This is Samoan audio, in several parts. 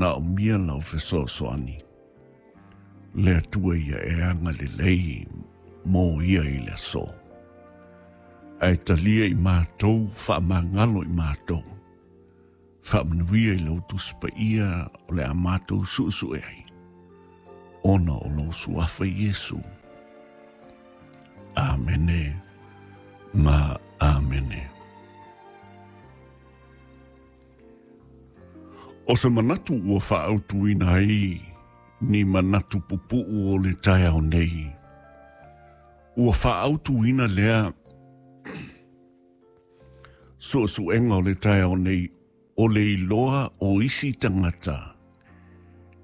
manaomia lau fesoasoani. Le Atua ia e agalelei mo ia i le aso. Ae talia i matou, faamagalo i matou. Faamanuia i lau Tusi Paia o le a matou suesue ai, ona o lou suafa Iesu. Amene ma amene. O se manatu ua faaautuina ai ni manatu pupuu o le taeao nei, ua faaautuina lea suesuega o le taeao nei o le iloa o isi tagata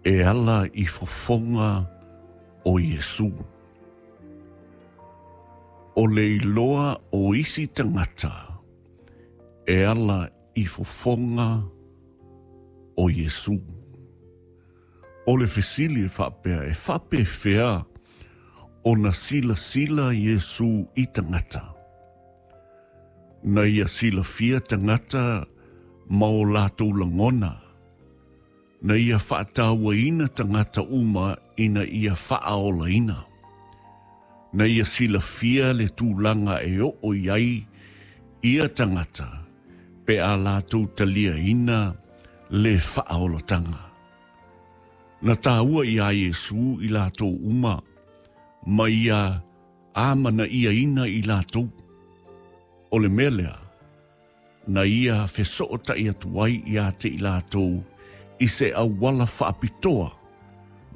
e ala i fofoga o Iesu. O le iloa o isi tagata e ala i fofoga o Iesu. O le fesili e faapea, e faapefea ona silasila Iesu i tagata? Na ia silafia tagata ma o latou lagona. Na ia faatauaina tagata uma ina ia faaolaina. Na ia silafia le tulaga e oo i ai ia tagata pe a latou taliaina le faaolataga. Na taua iā Iesu i latou uma ma ia amanaiaina i latou. O le mea lea, na ia fesootai atu ai iā te i latou i se auala faapitoa,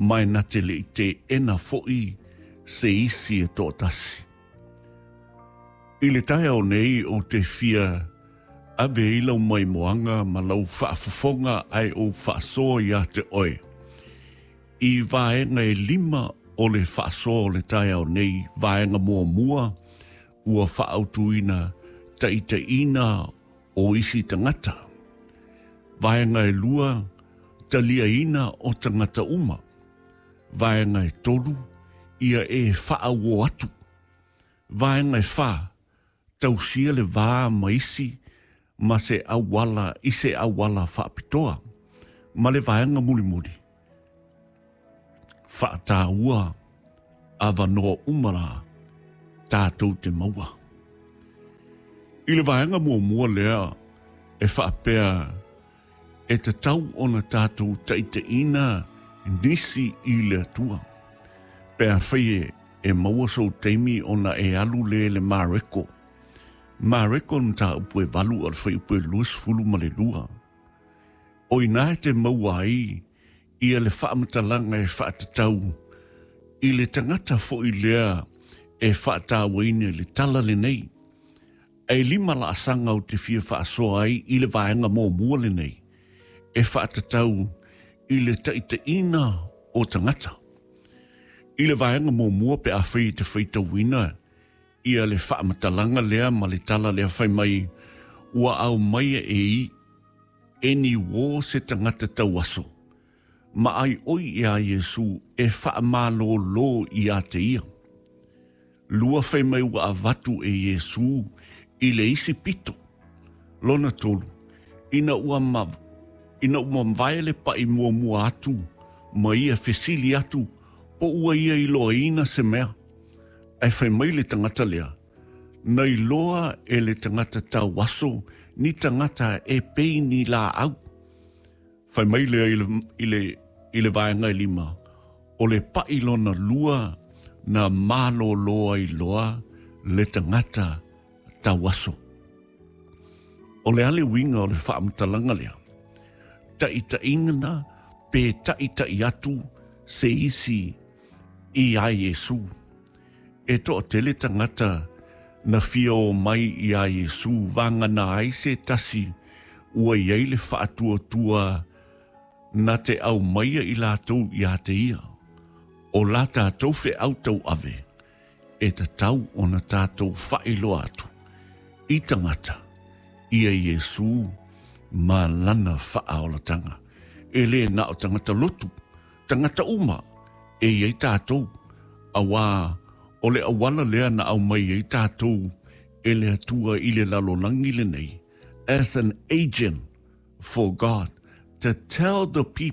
ma e na te le i teena foi se isi e toatasi. I le taeao nei ou te fia ave ai lau maimoaga ma lau faafofoga ae ou faasoa iā te oe i vaega e lima o le faasoa o le taeao nei, vaega muamua ua faaautuina taitaiina o isi tagata. Vaega e lua, taliaina o tagata uma. Vaega e tolu, ia e faauo atu. Vaega e fa, tausia le va ma isi ma se auala i se auala faapitoa. Ma le vaega mulimuli, faataua avanoa uma la tatou te maua. I le vaega muamua lea e faapea e tatau ona tatou taitaiina nisi i le Atua. Pe afai e e maua sou taimi ona e alu lea i le Mareko. Mareko le mataupu e 8 o le fuaiupu e 22. O ina e te maua ai ia le faamatalaga e faatatau i le tagata foi lea e faatauaina i le tala lenei. E lima laasaga ou te fia faasoa ai i le vaega muamua lenei e faatatau i le taitaiina o tagata. I le vaega muamua pe afai e te faitauina ia le faamatalaga lea ma le tala lea fai mai ua aumaia e i e ni uō se tagata tauaso ma ai oi iā Iesu e faamalōlō iā te ia. Lua fai mai ua avatu e Iesu i le isi pito. Lona tolu, ina ua ma, ina ua mavae le paʻi muamua atu ma ia fesili atu po ua ia iloaina se mea. Ae fai mai le tagata lea, Na iloa e le tagata tauaso ni tagata e pei ni laau. Fai mai lea i le, i le, i le vaega e lima, o le paʻi lona lua na malōlō ai loa le tagata tauaso. O le a le uiga o le faamatalaga lea? Taʻitaʻina pe taʻitaʻi atu se isi iā Iesū. E toatele tagata na fia o mai iā Iesū vagana ai se tasi ua i ai le faatuatua na te aumaia i latou iā te ia. O la tatou feau tauave, e tatau ona tatou faailoa atu i tagata ia Iesū ma lana faaolatanga. E le na o tagata lotu, tagata uma e i ai tatou, auā o le auala lea na aumai ai tatou e le Atua i le lalolagi lenei, as an agent for God to tell the people.